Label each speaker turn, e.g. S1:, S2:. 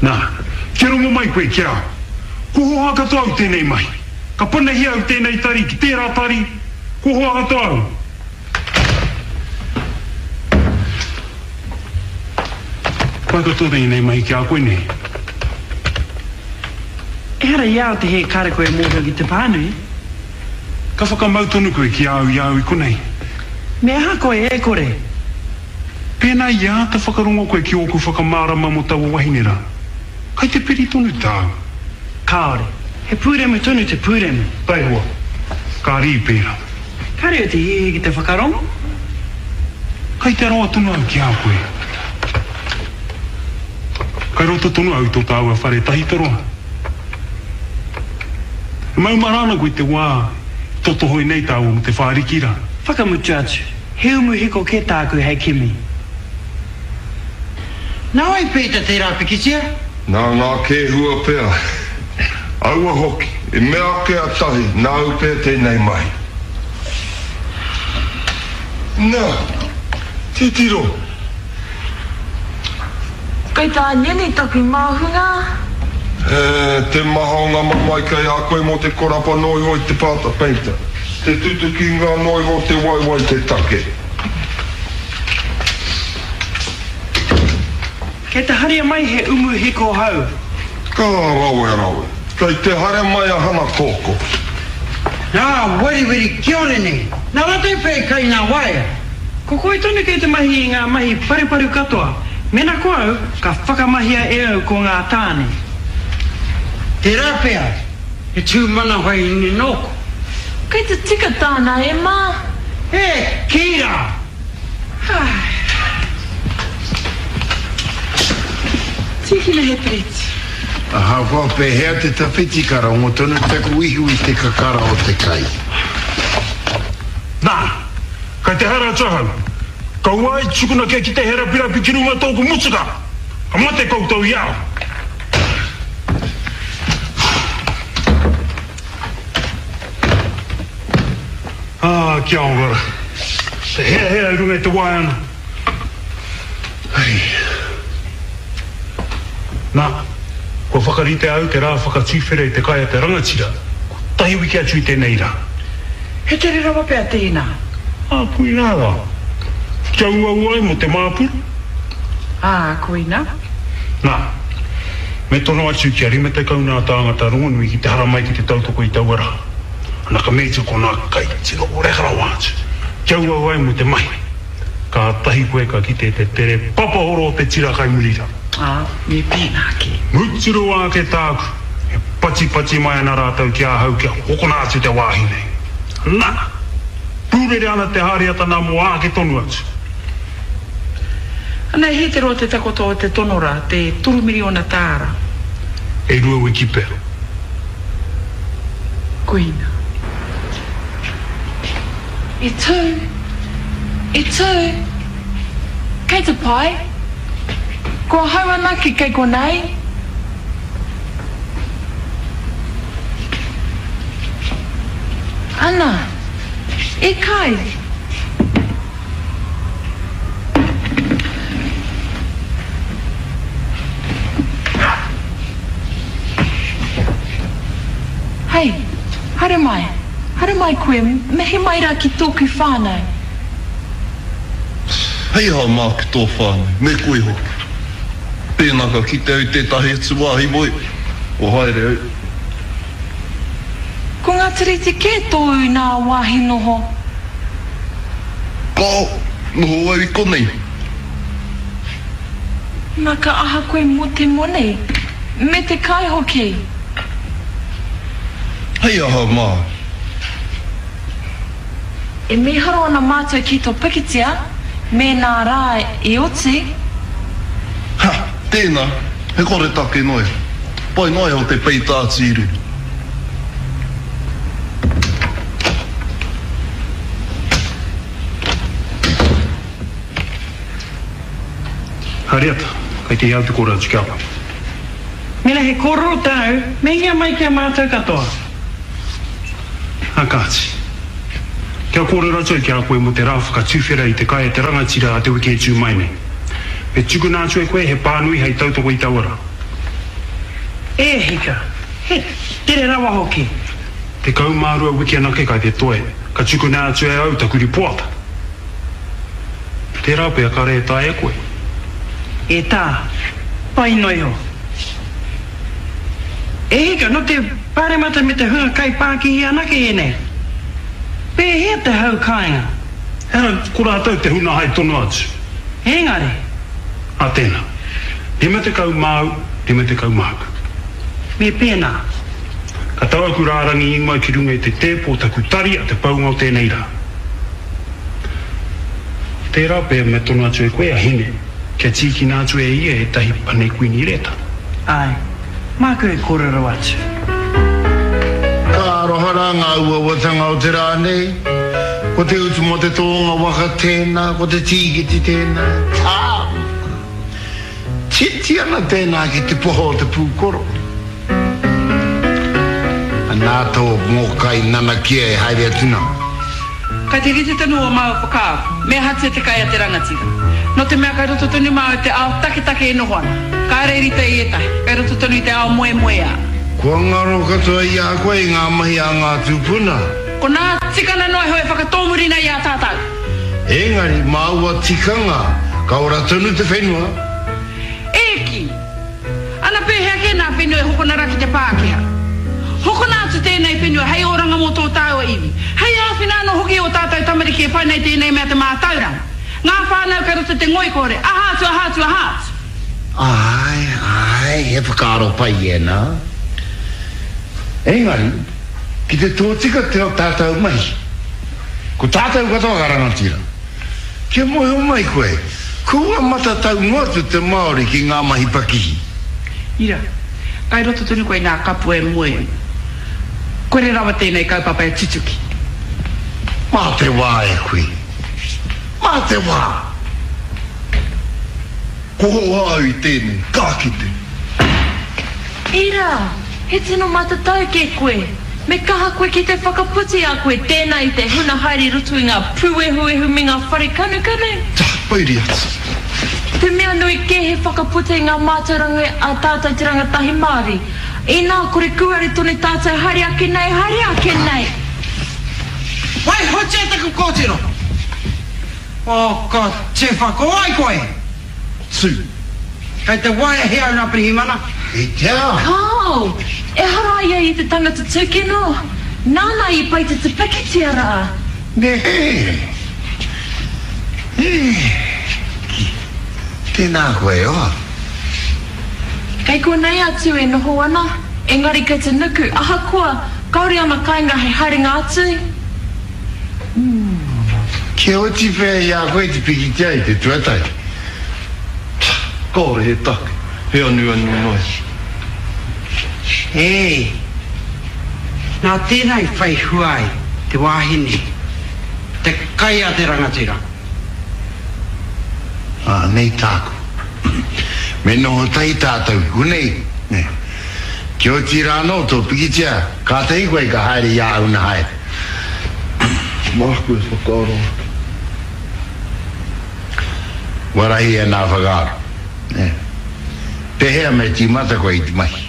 S1: Nā, kia rongo mai koe ki a au. Kua hoha katoa au tēnei mahi. Ka panahia au tēnei tari ki tērā tari, kua hoha katoa au. Pai katoa tēnei mahi ki a koe nei.
S2: Ehara i a au te hē kāre koe e mōhio ki te pānui.
S1: Ka whakamau tonu koe ki a au i a au i konei.
S2: Me aha koe e kore?
S1: Pēnā i āta whakarongo koe ki ōku whakamārama mō taua wahine rā, kai te piri tonu tāu.
S2: Kāore. He pūremu tonu te pūremu.
S1: Taihoa. Ka rī pērā.
S2: Kāre au te hiahia ki te whakarongo.
S1: Kai te aroha tonu au ki a koe. Kai roto tonu au i tō tāua whare tahito roa. E maumahara ana koe i te wā i totohoi nei tāua mō te whāriki rā.
S2: Whakamutu atu. He umu hiko kē tāku hei kimi.
S3: Nā wai peita tērā pikitia?
S4: Nā ngā kēhua pea. Aua hoki, i mea ake a Tahi, nāu pea tēnei mahi. Nā, titiro!
S5: Kei tā Nini taku māhunga.
S4: He, te maha o ngā mamae kei a koe mō te korapa noa iho i te pāta peita. Te tutukinga noa iho o te waewae te take.
S2: Kei te haria mai he umu hiko hou.
S4: Ka rawe rawe. Kei te haere mai a Hana Koko.
S3: Ngā weriweri kiore nei. Nā rātou pea i kai ngā waea.
S2: Ko koe tonu kei te mahi i ngā mahi paruparu katoa. Mena ko au, ka whakamahia e au ko ngā tāne.
S3: Tērā pea, he tūmanawahine nōku.
S5: Kei te tika tāna e Mā.
S3: E kī rā!
S5: Tīkina he piriti.
S6: Ahakoa pēhea te tawhiti ka rongo tonu taku ihu i te kakara o te kai.
S1: Nā, Kei te haere atu ahau. Kaua ai tukuna kia kite he rapirapi ki runga tōku motuka. Ka mate koutou i a au. Ā, kia ora ra. Te heahea i runga i te waea ana. Hei. Nā, kua whakaritea au te rā whakatuwhera i te kai a te rangatira, kotahi wiki atu i tēnei rā.
S2: He tere rawa pea tēnā.
S1: Ā, koinā rā. Kia uaua ai mō te māpuru.
S2: Ā, koinā.
S1: Nā, me tono atu kia 50 nā tāngata rongonui ki te haramai ki te tautoko i taua rā. Ana ka meatia ko nā kai tino reka rawa atu, kia uaua ai mō te mahi. Kātahi koe ka kite te tere papahoro o te tira kai muri rā.
S2: Ā, me pēnā kē.
S1: Mutu rawa ake tāku, e patipati mai ana rātou ki ahau kia hokona atu te wāhi nei. Nā! Pūrere ana te hāriata nā mō āke tonu atu.
S2: Ana, he te roa te takoto o te tono rā, te torumiriona tāra.
S1: E rua wiki pea.
S2: Koina.
S5: E tū! E tū! Kei te pai? Ko ahau anake kei konei? Ana! E kai! Hei! Haere mai! Haere mai koe, mihi mai rā ki tōku whānau.
S4: Hei aha māku tō whānau, me koe hoki. Pēnā ka kite au i tētahi atu wāhi moe, kua haere au.
S5: Ko ngā tiriti kē tōu nā wāhi noho.
S4: Kāo, noho au i konei.
S5: Nā ka aha koe mō te moni, me te kai hoki?
S4: Hei aha māu.
S5: E mīharo ana mātou ki tō pikitia, mēnā rā i oti.
S4: Ha! Tēnā, he koretake noa iho. Pai noa iho te peita atu i runga.
S1: Hariata, kei te au te kōrero atu ki a koe.
S2: Mēnā he kōrero tāu, meinga mai ki a mātou katoa.
S1: Ā kāti. Kia kōrero atu au ki a koe mō te rā whakatuwhera i te kai a te rangatira a te wiki e tū mai nei. Me tukuna atu e koe he pānui hei tautoko i taua rā.
S2: E hika, he tere rawa hoki.
S1: 12 wiki anake kai te toe, ka tukuna atu e au taku ripoata. Tērā pea kare e taea e koe.
S2: E tā, pai noa iho. E hika, nō te Pāremata me te hunga kaipākihi anake ēnei. Pēhea te hau kāinga?
S1: Ehara, ko rātou te huna hai tono atu.
S2: Engari.
S1: A tēnā. 50 māu, 50 māku.
S2: Me pēnā.
S1: Ka tau aku rārangi ingoa ki runga i te tēpu o taku tari a te paunga o tēnei rā. Tērā pea me tono atu e koe a Hine kia tīkina atu e ia ētahi pane kuini reta.
S2: Āe, māku e kōrero atu.
S6: Ka aroha rā ngā uauatanga o te rā nei, ko te utu mō te tōnga waka tēnā, ko te tīkiti tēnā, tā! Titi ana tēnā ki te poho o te pūkoro. Anā tō mōkai nanakia e haere atu nā.
S7: Kai te rite tonu ō māua whakaaro, me ahatia te kai a te rangatira. Nō te mea kai roto tonu māua i te ao taketake e noho ana. Kāre i rite i ētahi, kai roto tonu i te ao moemoeā.
S6: Kua ngaro katoa i a koe ngā mahi a ngā tūpuna.
S7: Ko nā tikana noa iho e whakatōmuri nei i a tātou.
S6: Engari mā aua tikanga ka ora tonu te whenua.
S7: E kī! Ana pēhea kē nā whenua e hokona rā ki te Pākehā? Hokona atu tēnei whenua hei oranga mō tō tāua iwi, hei āwhina anō hoki i ō tātou tamariki e whai nei tēnei mea te mātauranga. Ngā whānau kei roto i te ngoikore, aha atu, aha atu, aha atu.
S6: Āe, āe, he whakaaro pai ēnā. Engari, ki te tōtika te tātou mahi, ko tātou katoa ka rangatira. Kia mōhio mai koe, kua matatau noa atu te Māori ki ngā mahi pakihi.
S7: Ira, kai roto tonu koe i ngā kapua e moe ana. Kore rawa tēnei kaupapa e tutuki.
S6: Mā te wā e kui. Mā te wā!
S4: Ko hoa au i tēnei, ka kite.
S5: Ira, he tino matatau kē koe. Me kaha koe ki te whakaputi a koe tēnā i te huna haere i roto i ngā pūehuehu me ngā whare kanukanu.
S4: Ta, pouri atu.
S5: Te mea nui kē he whakaputa i ngā mātauranga a tātou te rangatahi Māori. Inā kore kūare tonu tātou haere ake nei, haere ake nei.
S3: Waihotia taku kōtiro! Oh, ko Tuwha, ko wai koe?
S4: Tū.
S3: Kei te waea he au nā Pirihimana.
S6: I te aha?
S5: Kāo! Ehara ia i te tangata tūkino. Nāna i pai te te pikitia rā.
S6: Nē. Nē. Ki. Tēnā koe, e hoa.
S5: Kei konei a Tū e noho ana, engari kei te nuku, ahakoa, kāore ana kāinga hei haerenga atu.
S6: Kia oti pea i a koe te pikitia i te tuatahi.
S4: Kāore he take, he anuanu noa.
S3: Ē, nā tēnā i whai hua ai te wāhi nei, te kai a te rangatira.
S6: Anei tāku. Me noho tahi tātou ki konei, nē. Kia oti rā anō tō pikitia, kātahi koe ka haere i āu na haere.
S4: Māku e whakaaro ake.
S6: Kua rahi ēnā whakaaro, nē. Pēhea me tīmata koe i te mahi?